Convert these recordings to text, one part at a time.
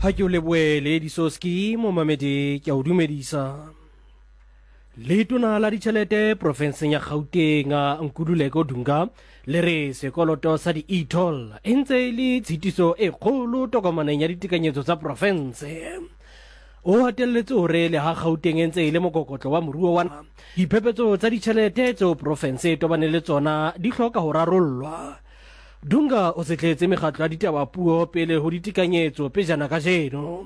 Ha ke o lebohe Lady Soski, momamedi ke a o dumedisa. Letona la ditšhelete profenseng ya Gauteng Nkululeko Dunga le re sekoloto sa di-e-toll e ntse e le tshitiso e kgolo tokomaneng ya ditekanyetso tsa profense. O hatelletse hore le ha Gauteng e ntse e le mokokotlo wa moruo wa naha, diphephetso tsa ditjhelete tseo profense e tobaneng le tsona di hloka ho rarollwa. Dunga o setletse mekgatlo ya ditaba puo pele ho ditekanyetso pejana kajeno.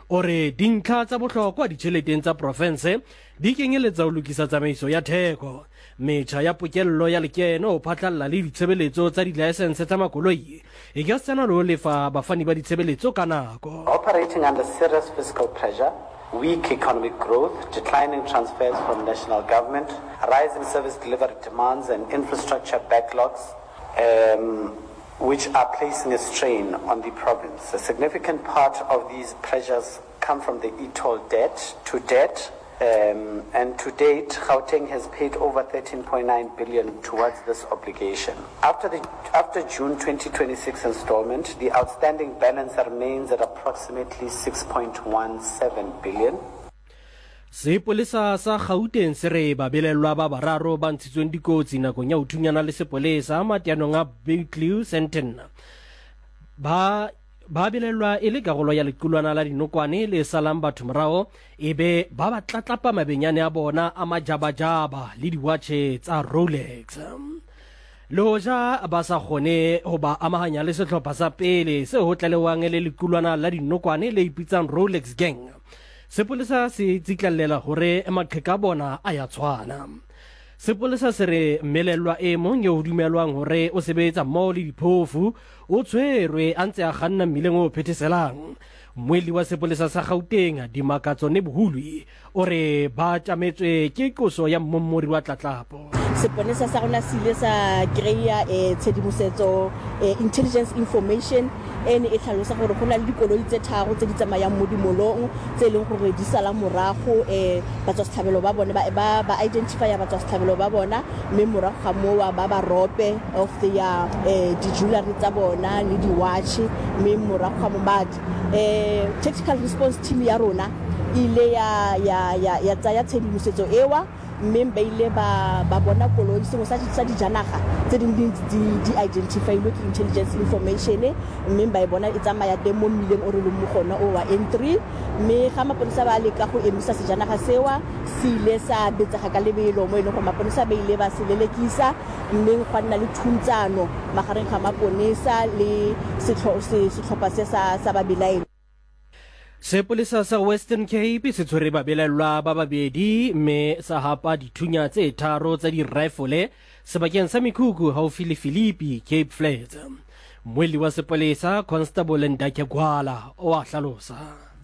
O re dintlha tsa bohlokwa ditjheleteng tsa profense di kenyeletsa ho lokisa tsamaiso ya theko, metjha ya pokello ya lekeno ho phatlalla le ditshebeletso tsa dilaesense tsa makoloi ekasitana le ho lefa bafani ba ditshebeletso ka nako. Operating under serious fiscal pressure, weak economic growth, declining transfers from national government, rising service delivery demands and infrastructure backlogs, um, which are placing a strain on the province. A significant part of these pressures come from the e-toll debt to debt, um, and to date, Gauteng has paid over 13.9 billion towards this obligation. After the after June 2026 installment, the outstanding balance remains at approximately 6.17 billion. Sepolesa sa Gauteng se re babelellwa ba bararo ba ntshitsweng dikotsi nakong ya ho thunyana le sepolesa mateanong a Butlew Sandton ba ba belellwa e le karolo ya lequlwana la dinokwane le salang batho morao e be ba ba tlatlapa mabenyane a bona a majabajaba le diwatjhe tsa Rolex. Le hoja ba sa kgone ho ba amahanya le sehlopha sa pele seo ho tlalehwang e le lequlwana la dinokwane le ipitsang Rolex Gang, sepolesa se tsitlallela hore maqheka a bona a ya tshwana. Sepolesa se re mmelellwa e mong eo ho dumelwang hore o sebetsa mmoho le diphofu o tshwerwe a ntse a kganna mmileng o phetheselang. Mmuelli wa sepolesa sa Gauteng, Dimakatso Nebuhulwi, o re ba tjametswe ke qoso ya mmommori wa tlatlapo. Seponesa sa rona se ile sa kry-a tshedimosetso, intelligence information, e ne e tlhalosa gore go na le dikoloi tse tharo tse di tsamayang mo dimolong tse e leng gore di sala morago batswasetlhabelo ba bone, ba ba identify-a batswasetlhabelo ba bona mme morago ga mowa ba ba rope of their di-jewellery tsa bona le di-watch mme morago ga mo ba tactical response team ya rona e ile ya ya ya ya tsaya tshedimosetso ewa mme ba ile ba ba bona koloi sengwe sa sa dijanaga tse dingwe di di identify-ilwe ke intelligence information mme ba e bona e tsamaya teng mo mmileng o re leng mo gona o wa N3 mme ga maponesa ba leka go emisa sejanaga sewa se ile sa betsega ka lebelo mo e leng gore maponesa ba ile ba se lelekisa mme gwa nna le thuntsano magareng ga maponesa le setlhopha se sa sa babelaelwa. Sepolesa sa Western Cape se tshwere babelaellwa ba babedi mme sa hapa dithunya tse tharo tsa dirifole sebakeng sa mekhukhu haufi le Philippi, Cape Flats. Mmuelli wa sepolesa, Constable Ndakhe Gwala, o a hlalosa.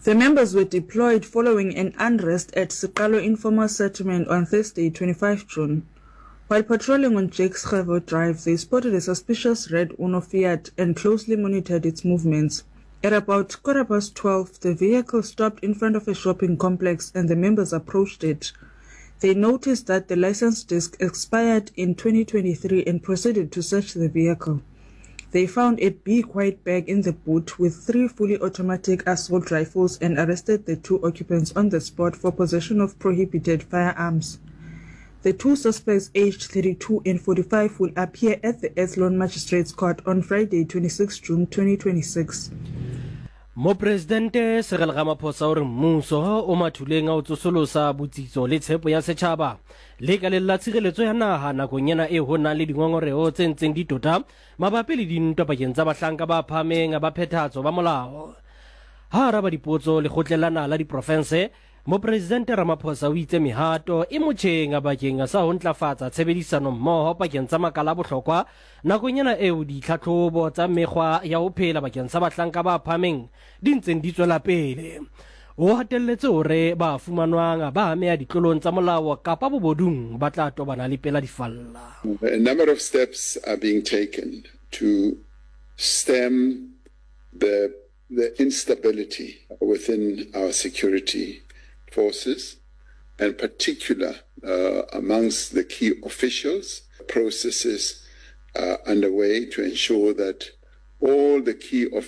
The members were deployed following an unrest at Siqalo informal settlement on Thursday, 25 June. While patrolling on Jakes Gerwel Drive, they spotted a suspicious red Uno Fiat and closely monitored its movements. At about quarter past 12, the vehicle stopped in front of a shopping complex and the members approached it. They noticed that the license disc expired in 2023 and proceeded to search the vehicle. They found a big white bag in the boot with three fully automatic assault rifles and arrested the two occupants on the spot for possession of prohibited firearms. The two suspects aged 32 and 45 will appear at the Athlone Magistrates Court on Friday 26 June 2026. Mopresidente Cyril Ramaphosa o re mmuso o mathuleng a ho tsosolosa botsitso le tshepo ya setjhaba lekaleng la tshireletso ya naha nakong ena e ho nang le dingongoreho tse ntseng di tota mabapi le dintwa pakeng tsa bahlanka ba phahameng ba phethahatso ba molao. Ha araba dipotso lekgotleng la naha la diprofense, Mopresidente Ramaphosa o itse mehato e motjheng bakeng sa ho ntlafatsa tshebedisano mmoho pakeng tsa makala a bohlokwa nakong ena eo ditlhatlhobo tsa mekgwa ya ho phela bakeng sa bahlanka ba phahameng di ntseng di tswela pele. O hatelletse hore ba fumanwang ba ameha ditlolong tsa molao kapa bobodung ba tla tobana le pela difalla. A number of steps are being taken to stem the the instability within our security forces and particular uh, amongst the key officials. Processes are underway to ensure that all the key officials